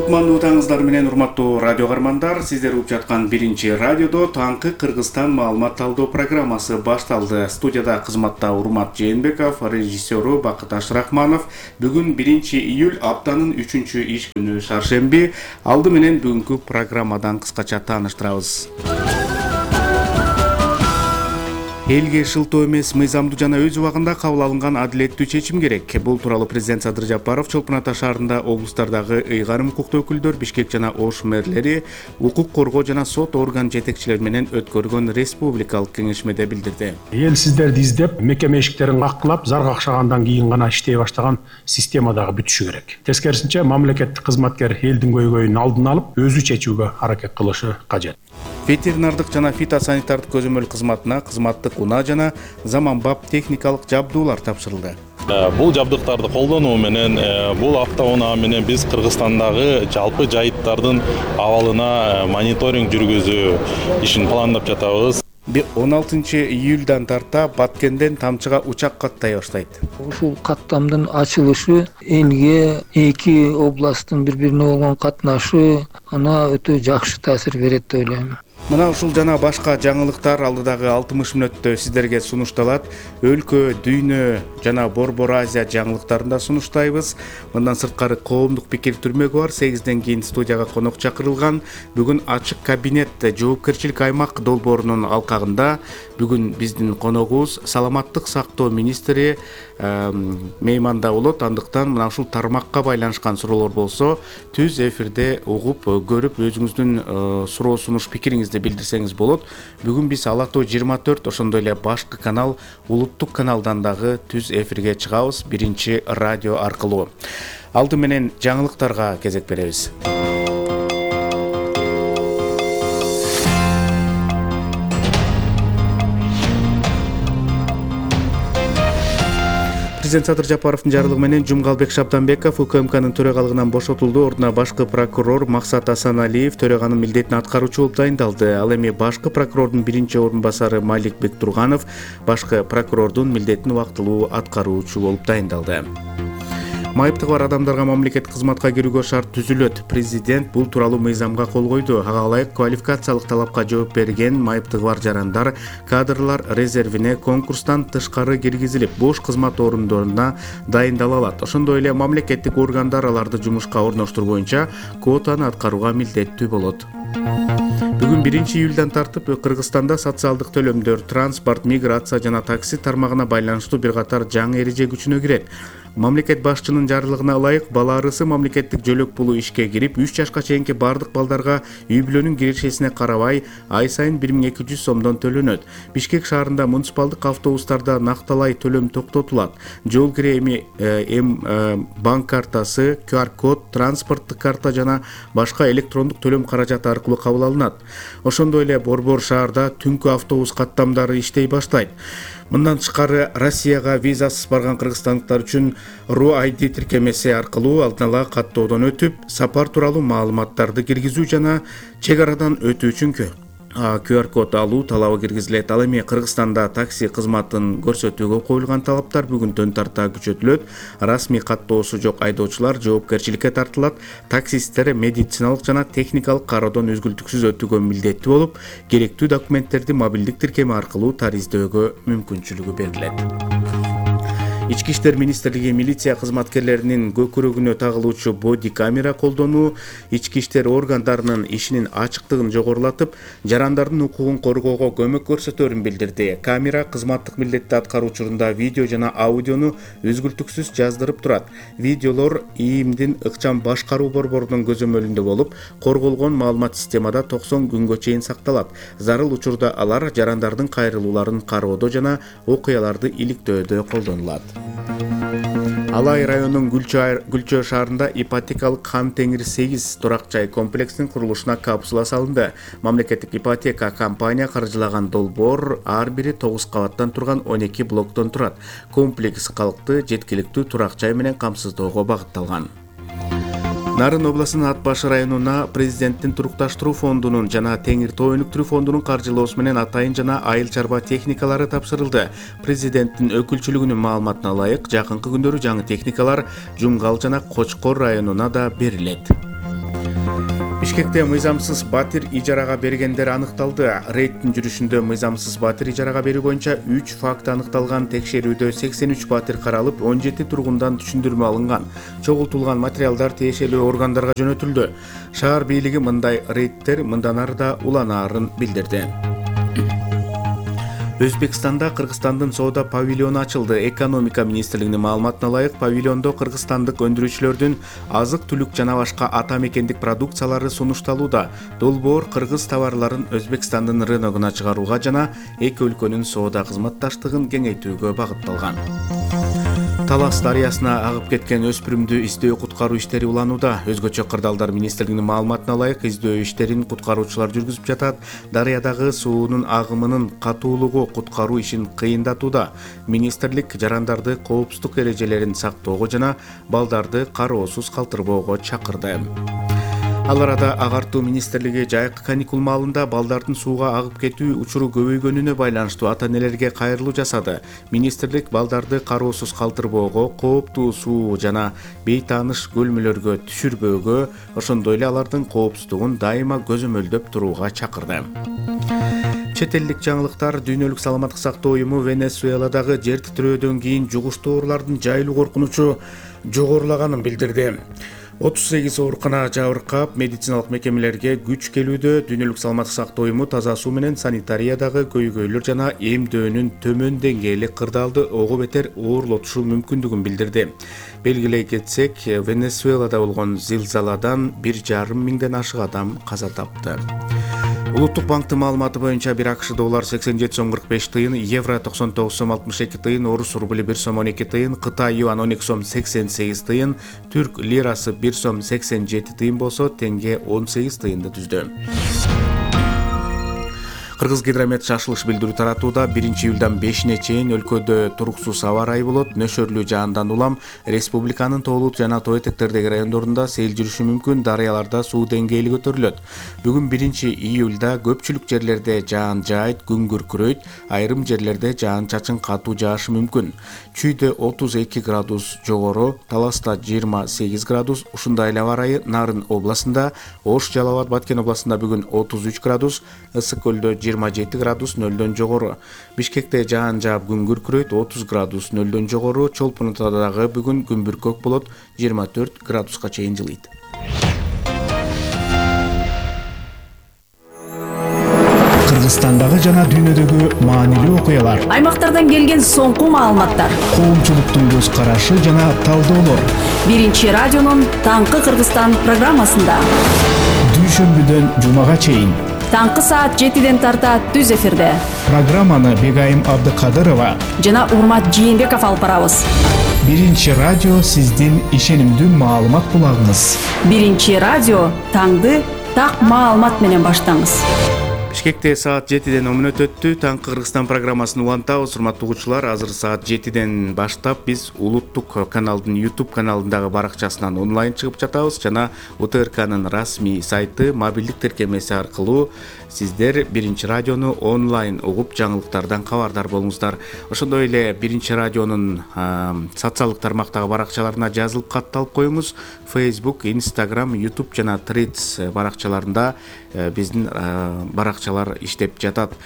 Кутмандуу таңыңыздар менен урматтуу радио каармандар, сиздер угуп жаткан биринчи радиодо таңкы Кыргызстан маалымат талдоо программасы башталды. Студияда кызматта Урмат Жээнбеков, режиссеру Бакыт Ашрахманов. Бүгүн 1-июль, аптанын 3-чү иш күнү шаршемби. Алды менен бүгүнкү программадан кыскача тааныштырабыз. Элге шылтоо эмес, мыйзамдуу жана өз убагында кабыл алынган адилеттүү чечим керек. Бул тууралуу президент Садыр Жапаров Чолпон Ата шаарында облустардагы ыйгарым укуктуу өкүлдөр, Бишкек жана Ош мэрлери, укук коргоо жана сот орган жетекчилери менен өткөргөн республикалык кеңешмеде билдирди. Эл сиздерди издеп, мекеме эшиктерин каккылап, зар какшагандан кийин гана иштей баштаган система дагы бүтүшү керек. Тескерисинче, мамлекеттик кызматкер элдин көйгөйүн алдын алып, өзү чечүүгө аракет кылышы кажет. Ветеринардык жана фитосанитардык көзөмөл кызматына кызматтык унаа жана заманбап техникалык жабдуулар тапшырылды. Бул жабдыктарды колдонуу менен бул автоунаа менен биз Кыргызстандагы жалпы жайыттардын абалына мониторинг жүргүзүү ишин пландап жатабыз. 16-июльдан тарта Баткенден Тамчыга учак каттай баштайт. Ушул каттамдын ачылышы элге эки областтын бири-бирине болгон катнашы ана өтө жакшы таасир берет деп ойлойм. Мына ушул жана башка жаңылыктар алдыдагы 60 мүнөттө сиздерге сунушталат. Өлкө, дүйнө жана Борбор Азия жаңылыктарында сунуштайбыз. Мындан сырткары коомдук пикир түрмөгү бар. 8ден кийин студияга конок чакырылган. Бүгүн ачык кабинет жоопкерчилик аймак долбоорунун алкагында бүгүн биздин коногубуз саламаттык сактоо министри мейманда болот. Андыктан мына ушул тармакка байланышкан суроолор болсо, түз эфирде угуп, көрүп, өзүңүздүн суроо сунуш пикириңизди билдирсеңиз болот. Бүгүн биз Ала Тоо 24, ошондой эле башкы канал, улуттук каналдан дагы түз эфирге чыгабыз, биринчи радио аркылуу. Алды менен жаңылыктарга кезек беребиз. Президент Садыр Жапаровдун жарлыгы менен Жумгалбек Шабданбеков УКМКнын төрагалыгынан бошотулду. Ордуна башкы прокурор Максат Асаналиев төраганын милдетин аткаруучу болуп дайындалды. Ал эми башкы прокурордун биринчи орун басары Малик Бектурганов башкы прокурордун милдетин убактылуу аткаруучу болуп дайындалды. Майыптыгы бар адамдарга мамлекеттик кызматка кирүүгө шарт түзүлөт. Президент бул тууралуу мыйзамга кол койду. Ага ылайык квалификациялык талапка жооп берген майыптыгы бар жарандар кадрлар резервине конкурстан тышкары киргизилип, бош кызмат орундоруна дайындала алат. Ошондой эле мамлекеттик органдар аларды жумушка орноштуруу боюнча квотаны аткарууга милдеттүү болот. Бүгүн 1-июльдан тартып Кыргызстанда социалдык төлөмдөр, транспорт, миграция жана такси тармагына байланыштуу бир катар жаңы эреже күчүнө кирет. Мамлекет башчынын жарлыгына ылайык бала арысы мамлекеттик жөлөк пулу ишке кирип, 3 жашка чейинки бардык балдарга үй-бүлөнүн кирешесине карабай ай сайын 1200 сомдон төлөнөт. Бишкек шаарында муниципалдык автобустарда накталай төлөм токтотулат. Жол кире банк картасы, QR-код, транспорттук карта жана башка электрондук төлөм каражаты аркылуу кабыл алынат. Ошондой эле Борбор шаарда түнкү автобус каттамдары иштей баштайт. Мындан тышкары Россияга визасыз барган кыргызстандыктар үчүн RUID тиркемеси аркылуу алдын ала каттоодон өтүп, сапар тууралуу маалыматтарды киргизүү жана чек арадан өтүү үчүн QR-код алуу талабы киргизилет. Ал эми Кыргызстанда такси кызматын көрсөтүүгө коюлган талаптар бүгүндөн тарта күчөтүлөт. Расмий каттоосу жок айдоочулар жоопкерчиликке тартылат. Таксисттер медициналык жана техникалык кароодон үзгүлтүксүз өтүүгө милдеттүү болуп, керектүү документтерди мобилдик тиркеме аркылуу тариздөөгө мүмкүнчүлүгү берилет. Ички иштер министрлиги милиция кызматкерлеринин көкүрөгүнө тагылуучу боди камера колдонуу ички иштер органдарынын ишинин ачыктыгын жогорулатып, жарандардын укугун коргоого көмөк көрсөтөөрүн билдирди. Камера кызматтык милдетти аткаруу учурунда видео жана аудиону үзгүлтүксүз жаздырып турат. Видеолор ИИМдин ыкчам башкаруу борборунун көзөмөлүндө болуп, корголгон маалымат системада 90 күнгө чейин сакталат. Зарыл учурда алар жарандардын кайрылууларын кароодо жана окуяларды иликтөөдө колдонулат. Алай районунун Гүлчө шаарында ипотекалык Хан Теңир 8 турак жай комплексинин курулушуна капсула салынды. Мамлекеттик ипотека компания каржылаган долбоор ар бири 9 кабаттан турган 12 блоктон турат. Комплекс калкты жеткиликтүү турак жай менен камсыздоого багытталган. Нарын областынын Ат башы районуна президенттин турукташтыруу фондунун жана Теңир Тоо өнүктүрүү фондунун каржылоосу менен атайын жана айыл чарба техникалары тапшырылды. Президенттин өкүлчүлүгүнүн маалыматына ылайык, жакынкы күндөрү жаңы техникалар Жумгал жана Кочкор районуна да берилет. Бишкекте мыйзамсыз батир ижарага бергендер аныкталды. Рейдтин жүрүшүндө мыйзамсыз батир ижарага берүү боюнча 3 факт аныкталган. Текшерүүдө 83 батир каралып, 17 тургундан түшүндүрмө алынган. Чогултулган материалдар тиешелүү органдарга жөнөтүлдү. Шаар бийлиги мындай рейдтер мындан ары да уланаарын билдирди. Өзбекстанда Кыргызстандын соода павильону ачылды. Экономика министрлигинин маалыматына ылайык, павильондо кыргызстандык өндүрүүчүлөрдүн азык-түлүк жана башка ата мекендик продукциялары сунушталууда. Долбоор кыргыз товарларын Өзбекстандын рыногуна чыгарууга жана эки өлкөнүн соода кызматташтыгын кеңейтүүгө багытталган. Талас дарыясына агып кеткен өспүрүмдү издөө куткаруу иштери уланууда. Өзгөчө кырдаалдар министрлигинин маалыматына ылайык, издөө иштерин куткаруучулар жүргүзүп жатат. Дарыядагы суунун агымынын катуулугу куткаруу ишин кыйындатууда. Министрлик жарандарды коопсуздук эрежелерин сактоого жана балдарды кароосуз калтырбоого чакырды. Ал арада Агартуу министрлиги жайкы каникул маалында балдардын сууга агып кетүү учуру көбөйгөнүнө байланыштуу ата-энелерге кайрылуу жасады. Министрлик балдарды кароосуз калтырбоого, кооптуу суу жана бейтааныш көлмөлөргө түшүрбөөгө, ошондой эле алардын коопсуздугун дайыма көзөмөлдөп турууга чакырды. Чет элдик жаңылыктар. Дүйнөлүк саламаттык сактоо уюму Венесуэладагы жер титирөөдөн кийин жугуштуу оорулардын жайылуу коркунучу жогорулаганын билдирди. 38 оорукана жабыркап, медициналык мекемелерге күч келүүдө. Дүйнөлүк саламаттык сактоо уюму таза суу менен санитариядагы көйгөйлөр жана эмдөөнүн төмөн деңгээли кырдаалды ого бетер оорлотушу мүмкүндүгүн билдирди. Белгилей кетсек, Венесуэлада болгон зилзаладан 1,5 миңден ашык адам каза тапты. Улуттук банктын маалыматы боюнча бир АКШ доллар 87 сом 45 тыйын, евро 99 сом 62 тыйын, орус рубли 1 сом 12 тыйын, Кытай юан 12 сом 88 тыйын, түрк лирасы 1 сом 87 тыйын болсо, тенге 18 тыйынды түздү. Кыргыз гидромет шашылыш билдирүү таратууда. 1-июлдан 5-ине чейин өлкөдө туруксуз аба ырайы болот. Нөшөрлүү жаандан улам республиканын тоолут жана тоо этектердеги райондорунда сел жүрүшү мүмкүн. Дарыяларда суу деңгээли көтөрүлөт. Бүгүн 1-июлда көпчүлүк жерлерде жаан жаайт, күн күркүрөйт, айрым жерлерде жаан-чачын катуу жаашы мүмкүн. Чүйдө 32 градус жогору, Таласта 28 градус, ушундай эле аба ырайы Нарын областында, Ош, Жалал Абад, Баткен областында бүгүн 33 градус, Ысык көлдө 27 градус 0-дөн жогору. Бишкекте жаан жаап күн күркүрөйт, 30 градус 0-дөн жогору. Чолпон Атадагы бүгүн күн бүркөк болот, 24 градуска чейин жылыйт. Кыргызстандагы жана дүйнөдөгү маанилүү окуялар, аймактардан келген соңку маалыматтар, коомчулуктун көз карашы жана талдоолор. Биринчи радионун Таңкы Кыргызстан программасында. Дүйшөмбүдөн жумага чейин. Таңкы саат 7-ден тарта түз эфирде. Программаны Бегайым Абдыкадырова жана Урмат Жээнбеков алып барабыз. Биринчи радио сиздин ишенимдүү маалымат булагыңыз. Биринчи радио таңды так маалымат менен баштаңыз. Бишкекте саат 7-ден 10 мүнөт өттү. Таңкы Кыргызстан программасын улантабыз. Урматтуу угуучулар, азыр саат 7-ден баштап биз Улуттук каналдын YouTube каналындагы баракчасынан онлайн чыгып жатабыз жана УТРКнын расмий сайты, мобилдик тиркемеси аркылуу сиздер Биринчи радиону онлайн угуп, жаңылыктардан кабардар болуңуздар. Ошондой эле Биринчи радионун социалдык тармактагы баракчаларына жазылып катталып коюңуз. Facebook, Instagram, YouTube жана Threads баракчаларында биздин баракчалар иштеп жатат.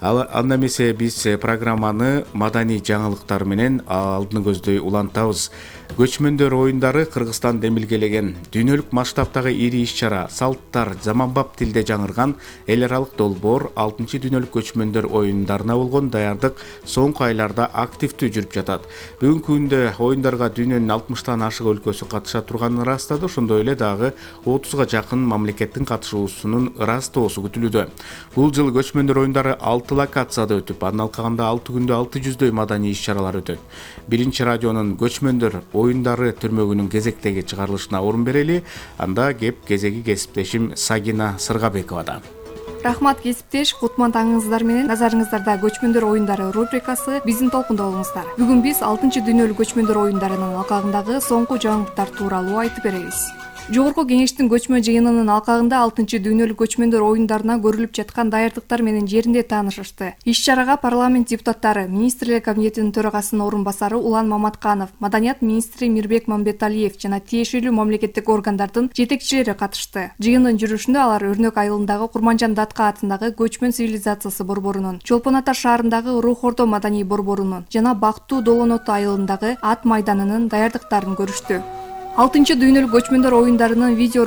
Анда эмесе биз программаны маданий жаңылыктар менен алдыны көздөй улантабыз. Көчмөндөр оюндары Кыргызстан демилгелеген дүйнөлүк масштабтагы ири иш-чара, салттар, заманбап тилде жаңырган эл аралык долбоор 6-чы дүйнөлүк көчмөндөр оюндарына болгон даярдык соңку айларда активдүү жүрүп жатат. Бүгүнкү күндө оюндарга дүйнөнүн 60тан ашык өлкөсү катыша турганын ырастады. Ошондой эле дагы 30га жакын мамлекеттин катышуусунун ырастоосу күтүлүүдө. Бул жыл көчмөндөр оюндары 6 локацияда өтүп, анын алкагында 6 күндө 600дөй маданий иш-чаралар өтөт. Биринчи радионун көчмөндөр оюндары түрмөгүнүн кезектеги чыгарылышына орун берели. Анда кеп кезеги кесиптешим Сагина Сыргабековада. Рахмат кесиптеш, кутман таңыңыздар менен. Назарыңыздарда көчмөндөр оюндары рубрикасы, биздин толкунда болуңуздар. Бүгүн биз 6-чы дүйнөлүк көчмөндөр оюндарынын алкагындагы соңку жаңылыктар тууралуу айтып беребиз. Жогорку Кеңештин көчмө жыйынынын алкагында 6-дүйнөлүк көчмөндөр оюндарына көрүлүп жаткан даярдыктар менен жеринде таанышышты. Иш-чарага парламент депутаттары, Министрлер комитетинин төрагасынын орун басары Улан Маматканов, Маданият министри Мирбек Мамбеталиев жана тиешелүү мамлекеттик органдардын жетекчилери катышты. Жыйындын жүрүшүндө алар Өрнөк айылындагы Курманжан Датка атындагы Көчмөн цивилизациясы борборунун, Чолпон Ата шаарындагы Рух Ордо маданий борборунун жана Бактуу Долонот айылындагы Ат майданынын даярдыктарын көрүштү. 6-дүйнөлүк көчмөндөр оюндарынын видео